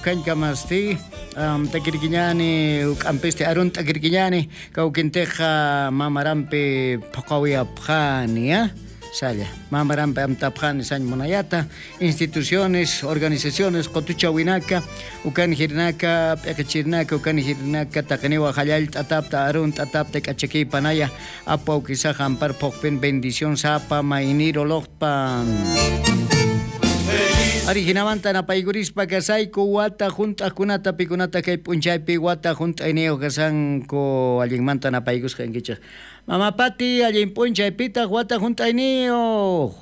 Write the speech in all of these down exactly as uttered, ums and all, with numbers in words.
Ukhañkamasti um, takirkiñani uk'ampisti arun t'akirkiñani kawkintiqa mamarampi phuqawiyapqani ya salla mamarampi amtapqani sañ munayata instituciones organizaciones qotuchawinaka ukan hirnaka p'eqichirnaka ukan hirnaka taqiniwa hallall t'atapta arun t'atapta k'achakiypanaya apaw kisaqa ampar phuqpin bendición sapa mayniro loqpan. Ari hinamanta napaykurispa kasayku wata hunt'aqkunata pikunata kay p'unchaypi wata hunt'ayniyuq kasanku allinmanta napaykusqankichik. Mama Pati, allin p'unchaypitaq wata hunt'ayniyuq.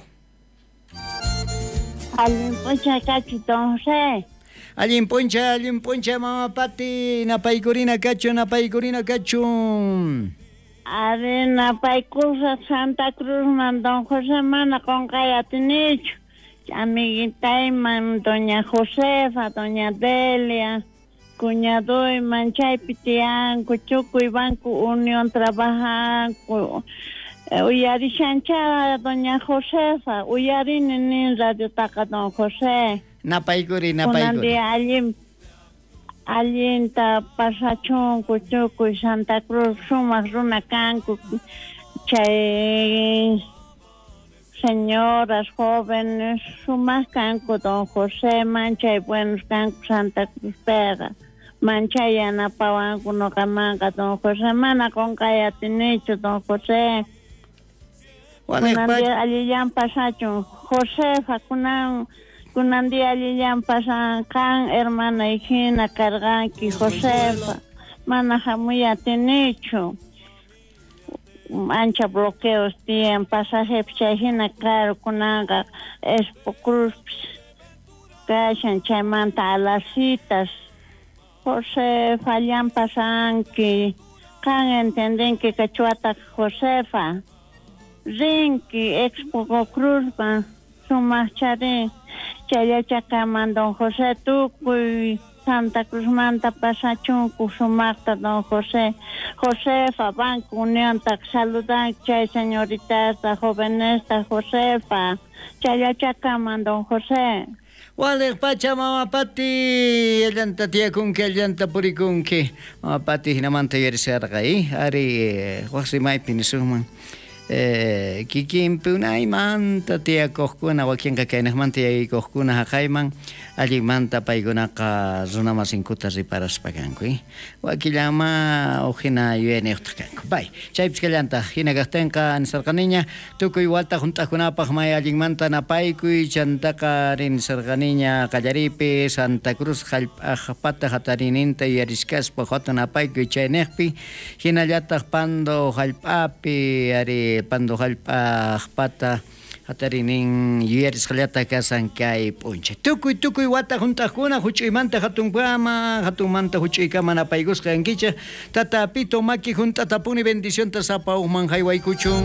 Allin p'unchay kachu don José. Allin p'unchay, allin p'unchay Mama Pati, napaykurina kachu, napaykurina kachun. Ari napaykusaq Santa Cruzman don José mana qunqay atinichu. Amiguitayman doña Josefa, doña Delia, cuñadoyman chaypi tiyanku, tukuy Banco Unión trabajanku. Uyarishancha doña Josefa, uyarini nin radiotaqa don José. Napaykuri, napaykuri. Kunan día allin, allinta pasachunku tukuy Santa Cruz sumaq runa kanku chay señoras, jóvenes, sumaq kanku don José, manchay buenos kanku Santa Cruz pega, manchay yanapawanku noqamanqa don José, mana qunqay atinichu don José. Kunan día allillan pasachun, Josefa, kunan, kunan día allillan pasan qan hermana hina karqanki Josefa, mana hamuy atinichu. Ancha bloqueos tiyan pasaje chay hina caro kunanqa Expo Cruz kashan chaymanta a las citas Josefa allan pasanki qan entendenki quechuata Josefa rinki Expo Cruzman sumaq charin chayachakaman don José tukuy Santa Cruzmanta pasachunku sumaqta don José. Josefa, Banco Unión, saludan chay señoritas, jóvenes, Josefa, chayachakaman don José. Waliq pacha Mama Pati, allanta tiyakunki, allanta purikunki. Mama Pati hinamanta yuyarisharqa, eh? Ari waqsi maypi nisunman. Eh, kikinpi unaymanta tiyakuqkuna wakinqa kaynaqmanta yaykuqkuna haqayman allinmanta paykunaqa runamasinkuta riparaspa kanku, eh? Wakillanma huk hina yuyayniyuqtaq kanku. Bay, chaypis kallantaq hina kaqtinqa nisarqaniña tukuy wata hunt'aqkunapaq may allinmanta napaykuy chantaqa rinisarqaniña qallariypi Santa Cruz hallp'aqpata hatarininta yuyariskaspa hatun napaykuy chayniqpi hinallataq Pando hallp'api ari Pando hallp'aqpata hatarinin yuyarisqallata kasan kay p'unchay. Tukuy tukuy wata hunt'aqkuna huch'uymanta hatunkama hatunmanta huch'uykama napaykusqa kankichik. Tata Pito maki hunt'atapuni bendicionta sapa uqman haywaykuchun.